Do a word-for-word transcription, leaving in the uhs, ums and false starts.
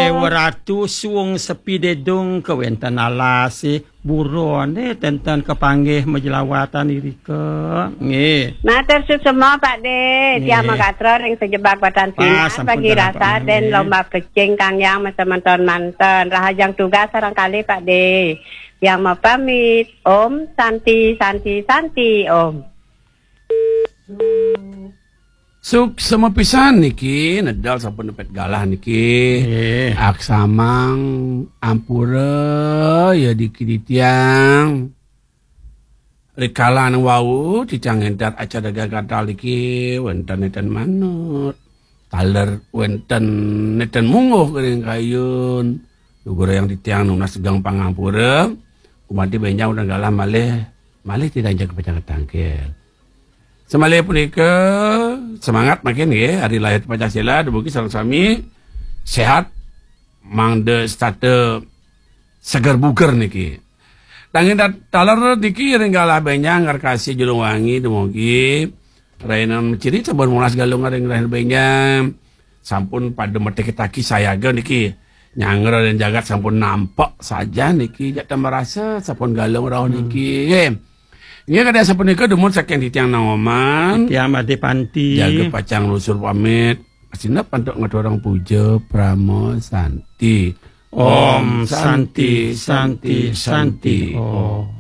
Dewa Ratu suung sepi dedung kewenten alas, eh, buron, eh, tenten kepanggih majelawatan irika. Nggih. Matur suksma, Pak De. Tiang nggih. Makatra ring sejebak batan sinar, sampun bagi rasa den lomba pecing kang yang semeton manten. Rahajeng tugas sareng kalih, Pak De. Tiang mapamit. Om Santi, Santi, Santi, Om. Suksma pisan niki, nedal sampun nepet galah niki. Nggih. Aksamang ampura ya diki titiang. Rikala anu wau titiang ngentat acara gagal niki wenten neten manut. Taler wenten neten mungguh ring kayun. Lugrayang titiang nunas geng pangampura. Gumanti benjang udah galah malih, malih titiang jaga pacang ketangkil. Semalih punika semangat makin nggih, hari lahir Pancasila, dumugi sareng sami sehat, mangda setata seger buger niki. Nanging dat-, taler niki ring galah benjang ngarkasi Julung Wangi, dumugi rainan ciri sampun molas Galungan ring rahina benjang. Sampun pada metik taki sayaga niki. Nyanggra dan jagat sampun nampak saja niki, jak tambah rasa sampun Galung rauh niki. Nggih. Inggih, kadang sapunika dumun saking titiang Nangoman. Titiang Ade Panti. Jaga pacang lusur pamit. Sinep antuk ngaturang puja Parama Santi. Om Santi, Santi, Santi, Om.